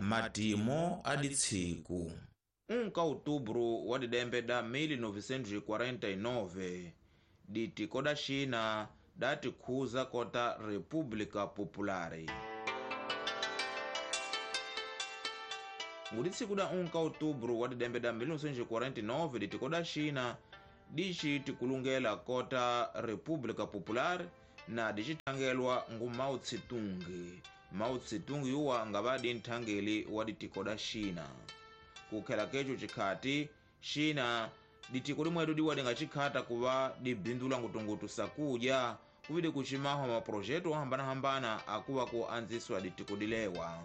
Matimo a ditsiku 1 ka outubro wa didembe da 1949 ditiko da China datikhuza kota República Popular. Nguditsiku da 1 ka outubro wa didembe da 1949 ditiko da China dici tikulungela kota República Popular na dicithangelwa ngu Mao Tse-tung. Mao Tse-tung yuwa ngava di nthangeli wa ditiko da China. Kukhela keco cikhati China ditiko limwedo diwa dingacikhata kuva dibindula ngutungutu sakudya kuvide kucimahwa maprojeto ohambanahambana akuva ku anziswa ditiko dilewa.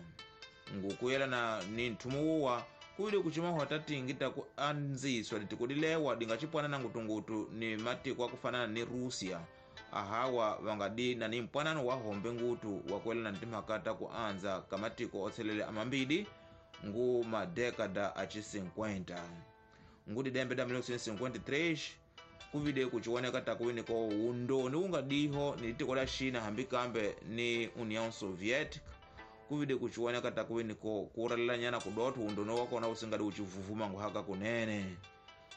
Ngukuyelana ni nthumu wuwa kuvide kucimahwa tatingi taku anziswa ditiko dilewa dingacipwanana ngutungutu ni matiko akufanana ni Rússia. Ahawa vangadi na ni mpwanano wa hombe ngutu wakuelana ntimhaka ta ku anza ka matiko otselele amambidi ngu madekada aci 50. Ngu didembe da 1953 kuvide kuciwoneka takuwiniko undoni ungadiho ni litiko la China hambi kambe ni União Soviética. Kuvide kuciwoneka takuwiniko kuralelanyana kudotho undoni wakona usingadi ucivuvuma nguhaka kunene.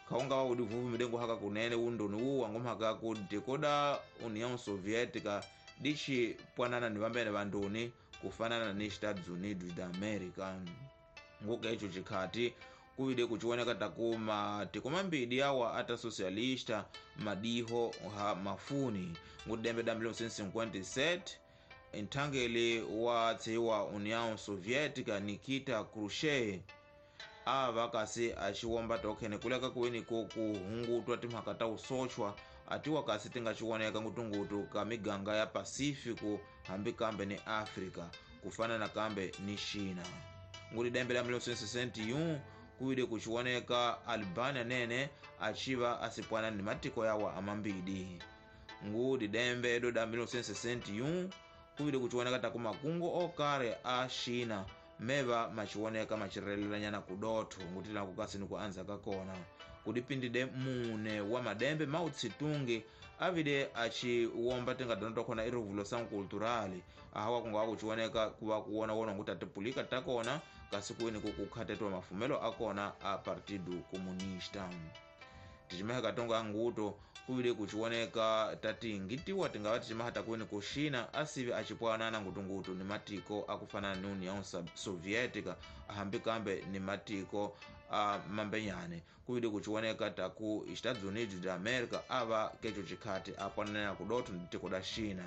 Kaunga wa udivuvumile nguhaka kunene undoni uwa ngumhaka ku ditiko da União Soviética dici pwanana ni vambene vandoni kufanana ni Estados Unidos da América. Nguka ico cikhati kuvide kuciwoneka taku matiko mambidi awa ata socialista madiho ha mafuni. Ngudembe da 1957 nthangeli wa tsiwa União Soviética Nikita Khrushchev ava kasi aciwomba tokhene kuleka kuwiniko kuhungutwa timhaka ta usochwa atiwa kasi tingaciwoneka ngutungutu ka miganga ya Pacífico hambi kambe ni África kufanana kambe ni China. Ngudidembe la 1961 kuvide kuciwoneka Albania nene aciva asipwana ni matiko yawa amambidi. Ngudidembe edo da 1961 kuvide kuciwoneka taku makungu okare a China meva maciwoneka macirelelanyana kudotho ngutila kukasi ni kuanza kakona. Kudipindide mune wa madembe Mao Tse-tung avide aciwomba tingadona twakhona i-Revolução Cultural ahawa kungawa kuciwoneka kuva kuwonawona nguti atipulika takona kasi kuwini kukukhatetwa mafumelo akona a Partido Comunista. Ticimaha katonga nguto kuvile kuciwoneka tati ngitiwa tingava ticimaha takuwini ku China asivi acipwanana ngutungutu ni matiko akufanana ni União Soviética ahambi kambe ni matiko a mambenyane. Kuvile kuciwoneka taku Estados Unidos da América ava keco cikhati apwananena kudotho ni tiko da China.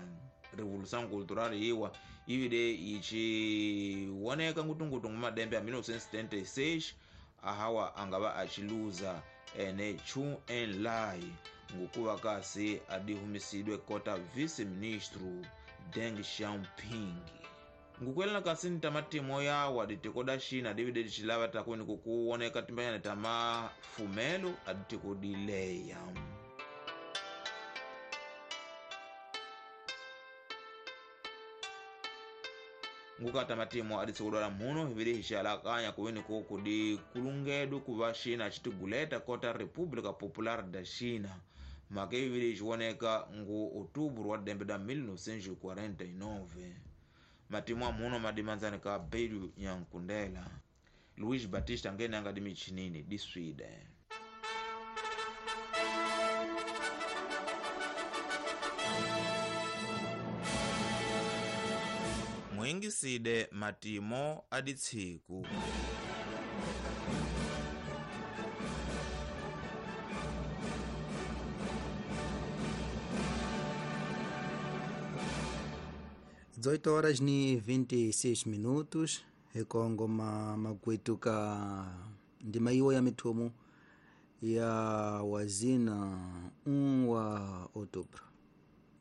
Revolução Cultural iwa ivide iciwoneka ngutungutu ngumadembe a 1976 ahawa angava aciluza ene Chu Enlai ngukuva kasi adihumisidwe kota vice-ministro Deng Xiaoping. Ngukuelana kasi ni tamatimo yawa ditiko da China divide dicilava takwini kukuwoneka timbanyana tamafumelo aditiko dileya. Ngukata matimo aditsikudwala muno hivili hixalakanya kuwini kudi kulungedu kuva China citiguleta kota República Popular da China. Mhaka ivili iciwoneka ngu outubro wa dembe da 1949. Matimo amuno madimanzani ka Bedu Nyankundela. Luiz Batista ngene anga dimichinini di Sweden. Mwingiside matimo aditsiku. Dezoito horas ni 26 minutos ekongo magwetu ka ndima iwo ya mithumu ya wazina 1 wa outubro.